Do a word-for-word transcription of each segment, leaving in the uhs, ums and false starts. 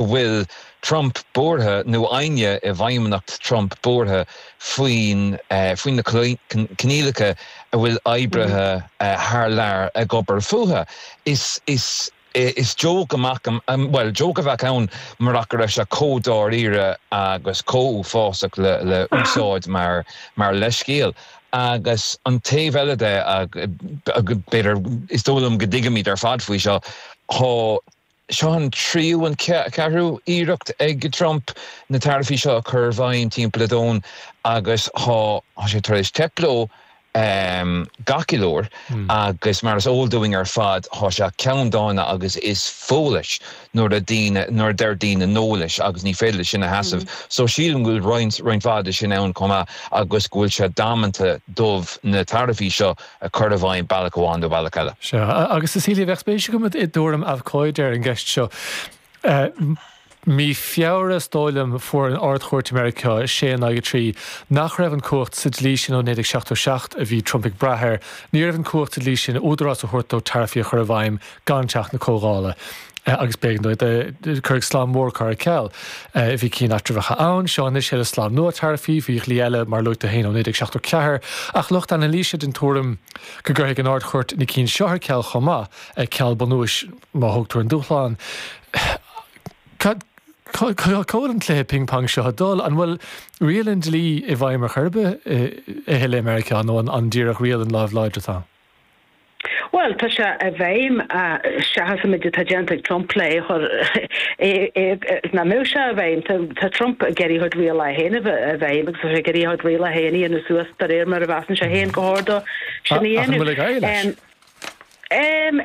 Bhfuil Trump buartha nó éinne i bhfeidhmeannacht Trump buartha faoin uh, faoin na coinníollacha a bhfuil oibrithe uh, thar lear ag obair fúthu. Is is is joke amach, um, well, joke a bheadh ann murach go raibh sé chomh dáiríre agus chomh uafásach le le úsáid mar mar leithscéal. Agus an taobh eile de, b'fhéidir, is dóigh liom go dtuigimid ar fad faoi seo, tá seo an tríú, an ceathrú iarracht ag Trump na taraifí seo a chur i bhfeidhm timpeall an domhain agus tá sé tar éis teip leo um, gach uair mm. agus mar is eol dúinn ar fad, tá sé ceanndána agus is fuath leis nuair a daoine nuair deir daoine no leis agus ní féidir sin a sheasamh. Mm. So sílim go bhfuil roinnt roinnt mhaith sin ann chomh maith agus go bhfuil sé damanta dóibh na taraifí seo a chur i bhfeidhm bealach amháin nó bealach eile. Sea, agus Cecilia, bheadh spéis agam i dtuairim abhcóide ar an gceist seo. Uh, Mí Feabhra, is dóigh liom, fuair an Ard-Chúirt Meiriceá sé in aghaidh trí nach raibh an cumhacht sa dlí sin ó naoi seachtó seacht a bhí Trump ag brath air, ní raibh an cumhacht sa dlí sin údarás a thabhairt dó taraifí a chur i bhfeidhm gan teach na Comhdhála. Agus b'éigean dó cur slám mór cur ar ceal. Bhí cinn eatramhacha ann, seo anois le slám nua taraifí, bhí dlí eile mar luaite féin ó naoi seachtó ceathair, ach lucht anailíse den tuairim go gcuirfidh an Ard-Chúirt na cinn seo ar ceal chomh maith, ceal bunúis má thugtar an dúshlán. Cá bhfuil an cluiche ping-pong seo ag dul? An bhfuil riail an dlí i bhfeidhm ar chor ar bith i le Meiriceá nó an an díreach riail an lámh láidir atá? Well, tá sé i bhfeidhm, seachas an méid atá déanta ag Trump le chur na mé sé i bhfeidhm. Tá Trump ag iarraidh a chuid rialacha féin i bhfeidhm agus tá sé ag iarraidh a chuid rialacha féin a suas de réir mar a mheasann sé féin gur chóir dó sin a dhéanamh. Um,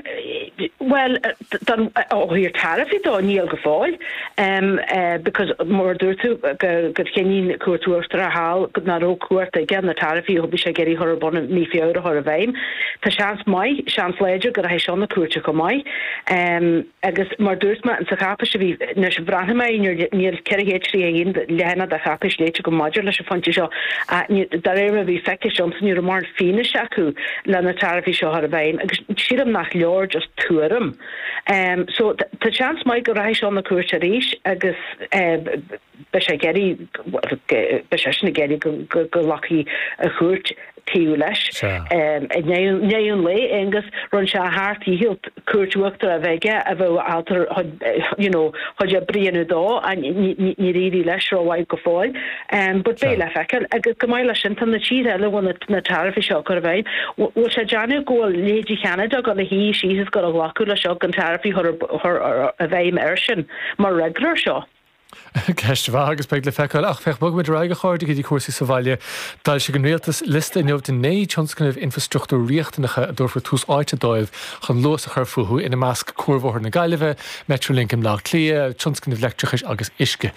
well, don ó thaobh taraifí dó, níl go fóill, um, uh, because mar dúirt tú go gur chinn Cúirt Uachtarach thall nach raibh cumhacht aige na taraifí a bhí sé ag iarraidh chur ar bun mí Feabhra a chur i bhfeidhm. Tá seans maith, seans láidir go rachaidh seo na cúirte chomh maith. Um, agus mar dúirt mé sa cháipéis a bhí anois bhreathnaigh mé, níl ceithre chéad tríocha haon leathanach de cháipéis léite agam maidir leis an phointe seo, de réir mar a bhí feicthe agamsa, ní raibh mórán fianaise acu le na taraifí seo a chur i bhfeidhm agus sílim nach leor just tuairim. Um, so tá seans maith go rachaidh seo na cúirte arís agus uh, beidh sé ag iarraidh beidh sé sin ag iarraidh go nglacfaidh an chúirt taobh leis. I ndiaidh an lae, Aonghus, rinne sé a sheacht ndícheall Cúirt Uachtarach a bheith aige a bheadh ábalta you know chuid oibre a dhéanamh dó, níor éirigh leis rómhaith go fóill. But beidh le feiceáil. Agus chomh maith leis sin, tá na tíortha eile a bhfuil na taraifí seo á gcur i bhfeidhm, bhfuil sé ag déanamh go bhfuil leithéidí Cheanada ag dul a shuí síos is ag dul a ghlacadh leis seo gan taraifí a chur i bhfeidhm air sin mar fhreagra air seo. Ceist mhaith agus beidh le feiceáil, ach féach, bogfaimid ar aghaidh, a chairde, go dtí cúrsaí sa bhaile. D'fhoilsigh an rialtas liosta inniu de naoi tionscnamh infrastruchtúir riachtanacha a dtabharfar tús áite dóibh chun luas a chur fúthu, ina measc Cuarbhóthar na Gaillimhe, Metrolink i mBleá Cliath, tionscnamh leictreachais agus uisce.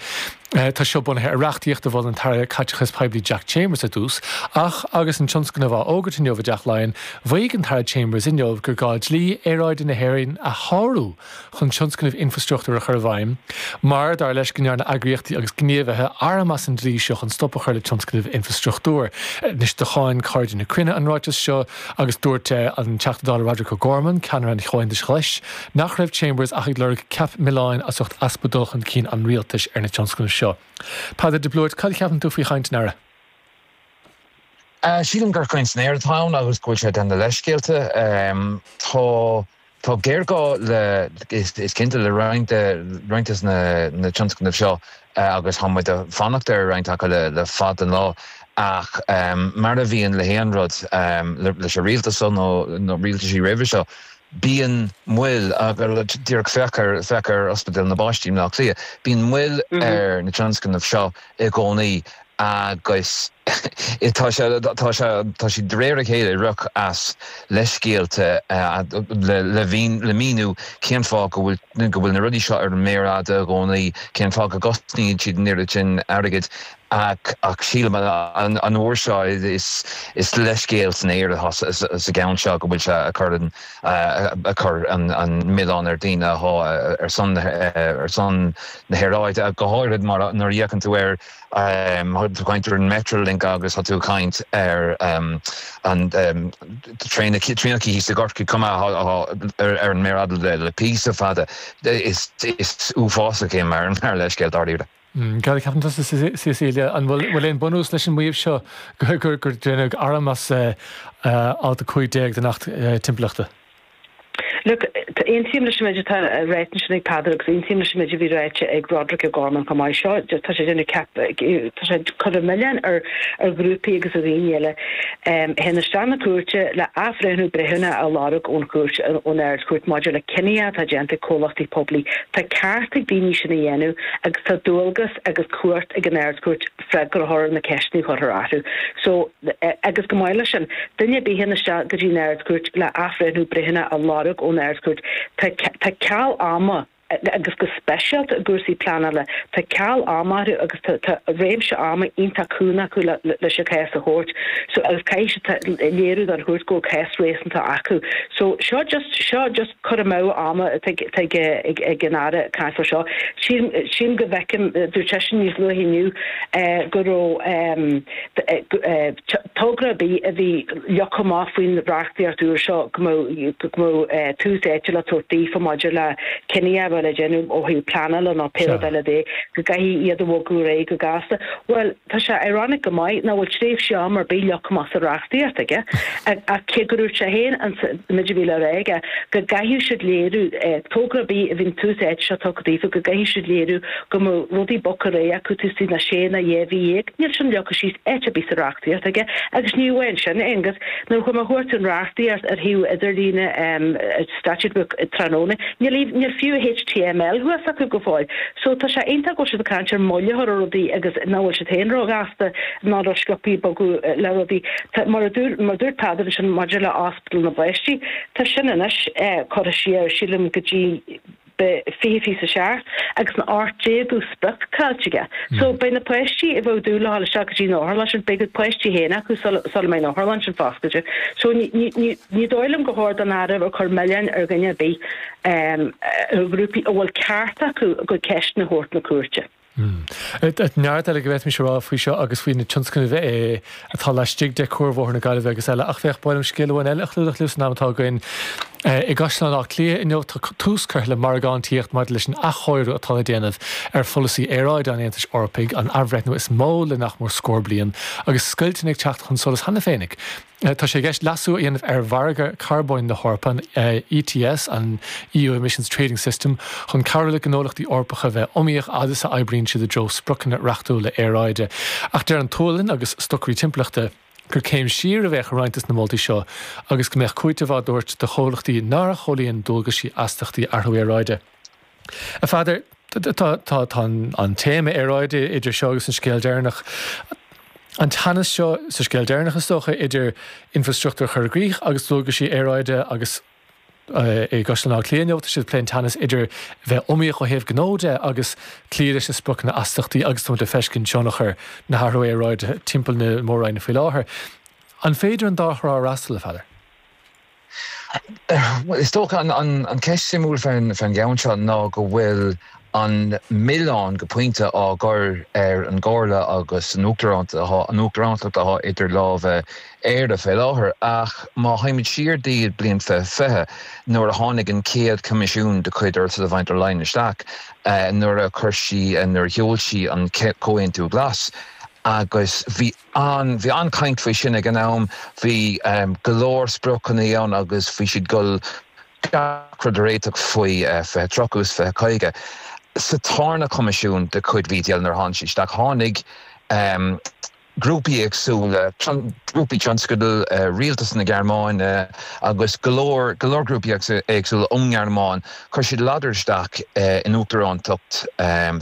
Tá seo bunaithe ar reachtaíocht a mhol an tAire Caiteachais Poiblí Jack Chambers ar dtús, ach agus an tionscnamh á fhógairt inniu i dTeach Laighean, mhaígh an tAire Chambers inniu gur gá dlí aeráide na hÉireann a shárú chun tionscnamh infrastruchtúir a chur i bhfeidhm, mar dar leis go ndearna eagraíochtaí agus gníomhaithe arm as an dlí seo chun stop a chur le tionscnamh infrastruchtúir. Anois do cháin Cairde na Cruinne an ráiteas seo agus dúirt an Teachta Dála Roderic O'Gorman, ceannaire an Chomhaontais Ghlais, nach raibh Chambers ach ag lorg ceap milleáin as ucht easpa dul chun cinn an rialtais ar na tionscnaimh seo. Peadar de Blúirt, cad a cheapann tú faoi chaint an Aire? Sílim gur caint san aer atá ann agus go bhfuil sé ag déanamh leithscéalta. Tá Tá géarghá le, is cinnte, le roinnt roinnt de na na tionscnaimh seo agus tá muid ag fanacht ar roinnt acu le le fada an lá, ach mar a bhíonn le haon rud, leis an rialtas seo nó nó rialtaisí roimhe seo, bíonn moill, díreach féach ar féach ar Ospidéal na bPáistí i mBleá Cliath, bíonn moill ar na tionscnaimh seo i gcónaí agus tá sé tá sé tá siad de réir a chéile ag rith as leithscéalta le le le míniú cén fáth go bhfuil go bhfuil na rudaí seo ar an méar fhada i gcónaí, cén fáth go gcosnaíonn siad an oiread sin airgid. ach ach sílim an an uair seo is is leithscéal san aer atá sa gceann seo go bhfuil sé ag cur an ag cur an an milleán ar daoine atá ar son ar son na haeráide go háirid mar nuair a fhéachann tú ar tú caint ar an Metrolink agus tá tú caint ar um, an um, traenacha thíos i gCorcaigh cuma ar ar an méar fhada le le píosa fada is is uafásach é mar mar leithscéal dáiríre. Mm, Cad a cheapann tusa Cecilia an bhfuil aon bunús leis an maíomh seo gur gur déanadh arm as eh, eh, alt a cúig déag den Acht eh, Timpeallachta? Look, aontaím leis an méid atá ráite ansin ag Peadar agus aontaím leis an méid a bhí ráite ag Roderic O'Gorman chomh maith seo, tá sé déanamh ceap tá sé cur an milleán ar ar ghrúpaí agus ar dhaoine eile um, théann isteach na cúirte le athbhreithniú breithiúnach a lorg ón chúirt ón Ard-Chúirt maidir le cinní atá déanta ag comhlachtaí poiblí. Tá ceart ag daoine sin a dhéanamh agus tá dualgas agus cumhacht ag an Ard-Chúirt freagra a thabhairt ar na ceisteanna a chuirtear orthu. So agus chomh maith leis sin duine a théann isteach go dtí an Ard-Chúirt le athbhreithniú breithiúnach a lorg ón Ard-Chúirt. Tá ceal ama agus go speisialta i gcúrsaí pleanála tá ceal ama agus tá réimse ama iontach cúng acu leis an cás a thabhairt so agus caithfidh léiriú don chúirt go cás réasúnta acu so seo just seo just cur amú ama ag ag an Aire caithfear seo sin go bhfeicim dúirt seisean níos luaithe inniu go raibh togra ar bith a bhí leagtha amach faoin reachtaíocht úr seo go mbeadh tús áite le tabhairt daofa maidir le cinní a bheith le déanamh ó thaobh pleanála nó pé rud eile de go gcaithfidh iad a bhogadh ar aghaidh go gasta. Well tá sé ironic go maith nach bhfuil tréimhse ama ar bith leagtha amach sa reachtaíocht aige ach cé go dúirt sé féin an méid a bhí le rá aige go gcaithfidh siad léiriú togra ar bith a bhíonn tús áite seo tugtha daofa go gcaithfidh siad léiriú go mbeadh rudaí bogtha ar aghaidh acu taobh istigh de sé nó dhá mhí dhéag. Níl sin leagtha síos áit ar bith sa reachtaíocht aige agus ní amháin sin Aengus nuair a chuaigh mé a chuartú an reachtaíocht ar shuíomh idirlíne Statute Book tráthnóna níl níl fiú HTML thuas acu go fóill. So tá sé iontach go bhfuil siad ag caint ar moill a chur ar rudaí agus nach bhfuil siad féin róghasta ná rósciobtha ag bogadh le rudaí. Mar a dúirt mar a dúirt Peadar ansin maidir le Ospidéal na bPáistí, tá sin anois curtha siar sílim go dtí fiche fiche a seacht agus an ocht déagú sprioc caillte aige. So beidh na páistí a bheadh dúil le dhul isteach go dtí an otharlann sin, beidh a gcuid páistí féin acu sula mbeidh an otharlann sin foscailte. So ní dóigh liom gur chóir don Aire bheith ag cur milleáin ar dhuine ar bith, ar ghrúpaí a bhfuil ceart acu a gcuid ceisteanna a thabhairt na cúirte. Neart eile go bhféadfaimis a rá faoi seo agus faoi na tionscnaimh atá laistigh de Cuarbhóthar na Gaillimhe agus eile, ach féach, ba mhaith liom scéal amháin eile a chlúdach libh san am atá againn. I gCaisleán Átha Cliath inniu tá tús curtha le margántaíocht maidir leis an athchóiriú atá le déanamh ar pholasaí aeráide an Aontais Eorpaigh, an athbhreithniú is mó le nach mór scór bliain, agus scoilteanna ag teacht chun solais cheana féinig. Tá sé i gceist leasú a dhéanamh ar mhargadh carbóin na hEorpa, an ETS, an EU Emissions Trading System, chun cabhrú le gnólachtaí Eorpacha bheith iomaíoch fhad is a oibríonn siad i dtreo spriocanna reachtúla aeráide. Ach deir an tSualainn agus stocairí timpeallachta, gur céim siar a bheadh i roinnt de na moltaí seo agus go mbeadh cúiteamh á dtabhairt do chomhlachtaí nár chomhlíon dualgaisí astachtaí athrú aeráide. A Pheadair, tá tá an téama aeráide idir seo agus an scéal deireanach. An teannas seo sa scéal deireanach is dócha idir infrastruchtúr a chur i gcrích agus dualgaisí aeráide agus i gCaisleán Átha Cliath inniu, tá siad ag plé an teannas idir bheith iomaíoch ó thaobh gnó de agus cloí leis na spriocanna astachtaí agus tá muid ag feiscint tionchar na hathrú aeráide timpeall na mór-roinne faoi láthair. An féidir an dá thrá a fhreastal, a Pheadair? Bhuel, is dócha an cheist suimiúil fán gceann seo ná go bhfuil an milleán go pointe á gcur ar an gComhairle agus an uachtarántacht atá idir lámha Éire fé láthair. Ach má théimid siar dtí bliain fiche fiche, nuair a tháinig an chéad Choimisiún de chuid Ursula von der Leyen isteach, nuair a chuir sí, nuair a sheol sí an Comhaontú Glas, agus bhí an, bhí an-chaint faoi sin ag an am, bhí go leor spriocanna ann agus bhí siad ag dul gach rud a réiteach faoi fiche tríocha agus fiche caoga. Sa tarna Coimisiún de chuid VDL nuair a tháinig sí isteach, tháinig grúpaí éagsúla, grúpaí tionscadail, rialtas na Gearmáine agus go leor, go leor grúpaí éagsúla ón nGearmáin, chuir siad ladar isteach in uachtarántacht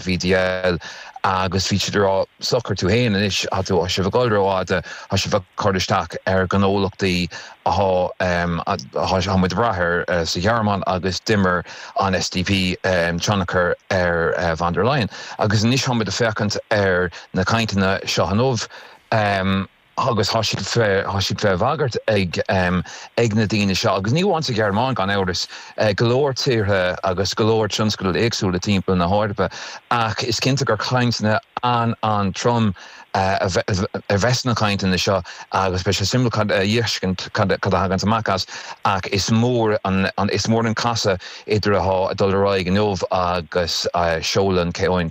VDL agus bhí siad ag rá socair tú féin anois tá tú sibh ag dul rófhada tá sibh ag cur isteach ar ghnólachtaí atá muid ag brath air eh, sa Ghearmáin agus d'imir an SDP um, tionchar ar uh, von der Leyen. Agus anois táimid ag féachaint ar na cainteanna seo inniu. Um, agus tá siad fé fé bhagairt ag um, ag na daoine seo agus ní amháin sa Ghearmáin gan amhras uh, go leor tíortha agus go leor tionscail éagsúla timpeall na hEorpa ach is cinnte gur cainteanna an an-trom uh, a bheas na cainteanna seo agus beidh sé suimiúil cad a fheiscint cad a thagann amach as ach is mór an, an is mór an casadh idir atá ag dul ar aghaidh inniu agus uh, seoladh an comhaontú.